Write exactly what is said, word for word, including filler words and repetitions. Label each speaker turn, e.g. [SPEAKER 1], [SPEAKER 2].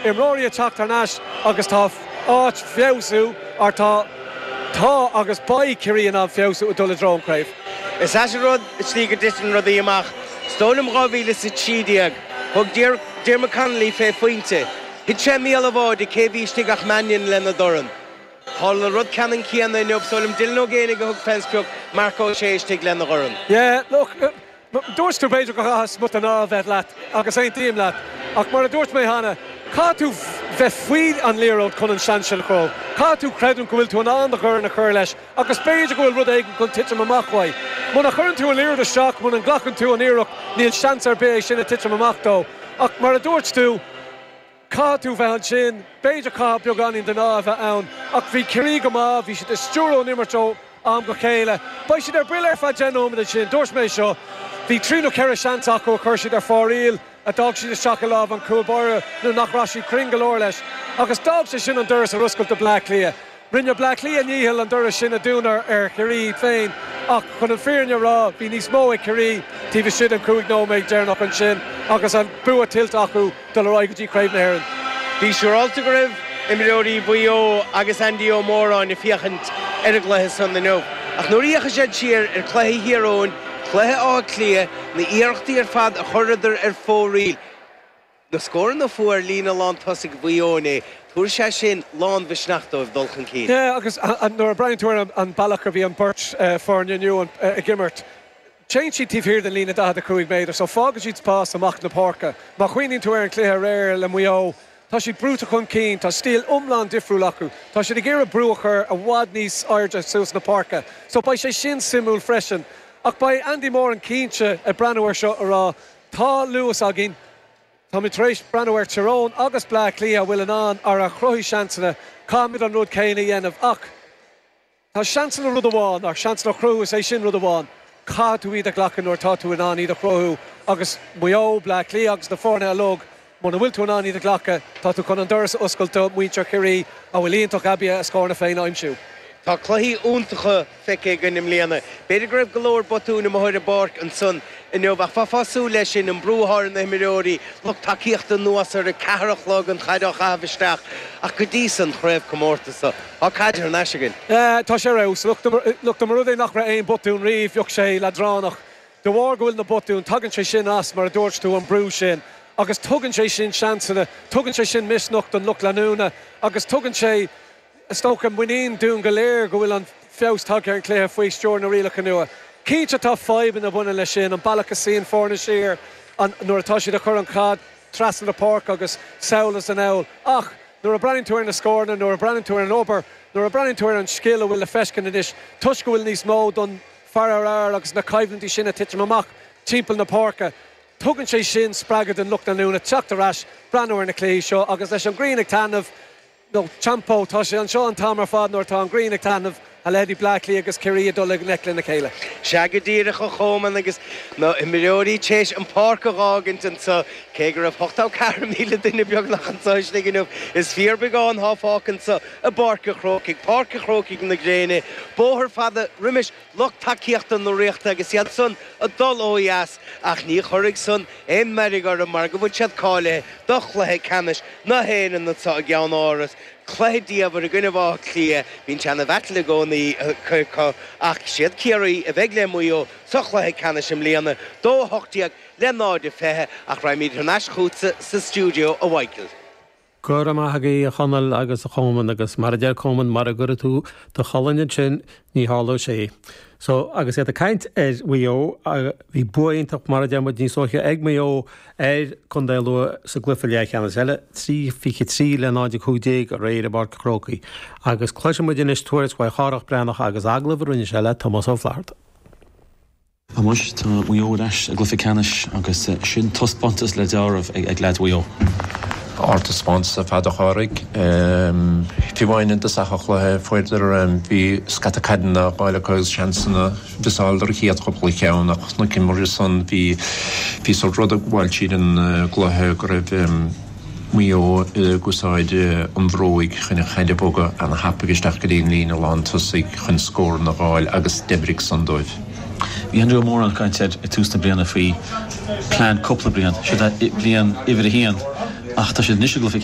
[SPEAKER 1] Imreoirí ag teacht thar n-ais agus tá áit feabhsú ar tá tá agus beidh Ciarraí in ann feabhsú ag dul i dtreo an chraobh.
[SPEAKER 2] Is ait an rud an tslí go dtiteann rudaí amach. Is dóigh liom dhá mhíle is a trí déag, thug Diarmuid Connolly fé phointe. Thit sé i mbéal an bháide, cé bhí istigh ach Mannion lena dhorn. Tharla an rud ceannann céanna inniu, is dóigh liom Dylan Ó Géibheannaigh a thug fén sprioc, Marc Ó Sé istigh lena dhorn.
[SPEAKER 1] Yeah, look, dúirt tú b'fhéidir go gcaithfidh smut an ádh a bheith leat agus aontaím leat, ach mar a dúirt mé cheana, caithfidh tú bheith faoi an liathróid chun an seans sin a chruthú. Caithfidh tú creidiúint go bhfuil tú in ann do dhorn a chur leis agus b'fhéidir go bhfuil rud éigin chun titim amach uaidh. Muna chuireann tú an liathróid isteach, muna nglacann tú an iarracht, níl seans ar bith é sin a titim amach dó. Ach mar a dúirt tú, caithfidh tú bheith ansin, b'fhéidir caithfidh beagáinín den ádh a bheith ann, ach bhí Ciarraí go maith, bhí siad ag stiúradh an imirt ó am go chéile. Beidh siad ar buile ar feadh deich nóiméad ansin, dúirt mé seo, bhí trí nó ceithre seans acu a chuir siad ar fóraoil, a d'fhág siad isteach i lámh an chúl báire nó nach raibh siad cruinn go leor leis, agus d'fhág sé sin an doras ar oscailt do Bleá Cliath. Rinne Bleá Cliath a ndícheall an doras sin a dúnadh ar Chiarraí féin ach chun an fírinne a rá, bhí níos mó ag Ciarraí taobh istigh den chúig nóiméad deireanach ansin agus an bua tuillte acu dul ar aghaidh go dtí Craobh na hÉireann.
[SPEAKER 2] Bí siúráilte go raibh imreoirí Mhaigh Eo agus Andy Ó Móráin ag féachaint ar an gcluiche san inniu. Ach nuair a fhéachann siad siar ar chluiche Thír Eoghain, cluiche Átha Cliath, na hiarrachtaí ar fad a chuireadar ar fóraoil, na scóranna a fuair líne lántosaigh Mhaigh Eo inné, tabharfaidh sé sin lánmhisneach dóibh dul chun cinn.
[SPEAKER 1] Yeah, agus nuair a breathnaíonn tú ar an bealach a bhí an beirt foirne inniu ag imirt, téann siad taobh thiar den líne daichead a cúig méadar, so fágann siad spás amach na páirce. Má chuimhníonn tú ar an chluiche aréir le Maigh Eo, tá siad brúite chun cinn, tá stíl iomlán difriúil acu, tá siad ag iarraidh brú a chur i bhfad níos airde suas na páirce, so beidh sé sin suimiúil freisin. Ach beidh Andy Moran cinnte ag breathnú air seo a rá, tá luas againn, táimid tar éis breathnú ar Tyrone agus Bleá Cliath a bhfuil in ann ar a chruthaigh seansanna, caithfimid an rud céanna a dhéanamh ach tá seansanna rud amháin, ach seansanna a chruthú is é sin rud amháin, caithfidh tú iad a ghlacadh nuair atá tú in ann iad a chruthú agus Maigh Eo, Bleá Cliath agus na foirne uilig, muna bhfuil tú in ann iad a ghlacadh, tá tú chun an doras a oscailt do mhuintir Chiarraí a bhfuil iontach aibí a scóranna féin a aimsiú.
[SPEAKER 2] Tá cluichí iontacha feicthe againn i mbliana. B'fhéidir go raibh go leor botúin amuigh ar an bpáirc ansan inniu ach bheifeá ag súil leis sin, an brú atá ar na himreoirí, lucht tacaíochta anuas ar a ceathair a chlog, an chaid á chaitheamh isteach ach go dtí san chraobhchomórtas seo, tá caid thar n-ais againn.
[SPEAKER 1] Tá sé ar fheabhas. Look, dá mba rud é nach raibh aon botún riamh, bheadh sé leadránach. De bharr go bhfuil na botúin, tagann sé sin as, mar a dúirt tú, an brú sin agus tugann sé sin seansanna, tugann sé sin misneach don lucht leanúna agus tugann sé, is dócha, muinín dúinn go léir go bhfuil an feabhas tagtha ar an chluiche faoi stiúir na rialacha nua. Cinnte tá fadhbanna a bhaineann leis sin, an bealach a suíonn foirne siar an, nuair atá siad ag cur an chaid trasna na páirce agus sall is anall ach nuair a breathnaíonn tú ar na scóranna, nuair a breathnaíonn tú ar an obair, nuair a breathnaíonn tú ar an scil a bhfuil le feiscint anois toisc go bhfuil níos mó don fear ar fhear agus na coimhlintí sin ag titim amach timpeall na páirce, tugann sé sin spreagadh don lucht leanúna teacht ar ais, breathnú ar na cluichí seo agus leis an ghrian ag taitneamh, nó Champo, tá sé anseo an t-am ar fad nuair atá an ghrian ag taitneamh, a leithéidí Bleá Cliath agus Ciarraí ag dul i ngleic lena chéile.
[SPEAKER 2] Sea go díreach, a Chomáin, agus na himreoirí tar éis an pháirc a dh'fhágaint anseo, cé go raibh ochtó ceathair míle duine beagnach anseo istigh inniu, is fíorbheagán atá fágtha anseo i bPáirc an Chrócaigh, Páirc an Chrócaigh na gréine, bóthar fada roimis lucht tacaíochta na Ríochta agus iad san ag dul ó dheas, ach ní chuirfidh san aon mheirg orthu mar go bhfuil siad cáilithe do chluiche ceannais na hÉireann anseo i gCeann Áras. Cluiche diamhair i gcoinne Átha Cliath, bíonn sé ina bhattle i gcónaí acu ach siad Ciarraí a bheidh le Maigh Eo sa chluiche ceannais i mbliana, dó a hocht déag le náid a fiche, ach raghaimid thar n-ais chugatsa sa stiúideo a Mhichael.
[SPEAKER 3] Go raibh maith agaibh a Chonaill agus a Chomáin agus mar a deir Coman mura gcuirfidh tú do cholainn ansin ní tharlóidh sé. So agus iad ag caint ar Mhaigh Eo bhí bua iontach mar a deir muid níos luaithe ag Maigh Eo ar Contae Lú sa gcluiche leathcheannais eile, trí fiche trí le náid a cúig déag aréir i bPáirc an Chrócaigh. Agus cloisfidh muid anois tuairisc uaidh Chárthach Breathnach agus agallamh a rinne sé le Tomás Ó Flaithearta.
[SPEAKER 4] Anois tá Maigh Eo ar ais i gcluiche ceannais agus sin taispeántas le deáramh ag leaids Mhaigh Eo.
[SPEAKER 5] Ardtaispeántas ar fad a Chárthaigh. Fiú amháin i dtosach an chluiche fuaireadar bhí scata caideanna á fháil acu agus seansanna mhiosáladair an chéad chúpla ceann ach chonaiceamar ansan bhí bhí sórt rud ag gabháil tríd an gcluiche go raibh Maigh Eo ag úsáid an bhróig chun an chaid a bhogadh ana-thapaidh isteach go dtí an líne lán tosaigh chun scóranna a dh'fháil agus d'oibrigh san dóibh.
[SPEAKER 4] Bhí Andrew Ó Móráin ag caint ar ag tús na bliana faoi plean cúpla bliain, siod é bliain uimhir a haon, ach tá siad anois i gcluiche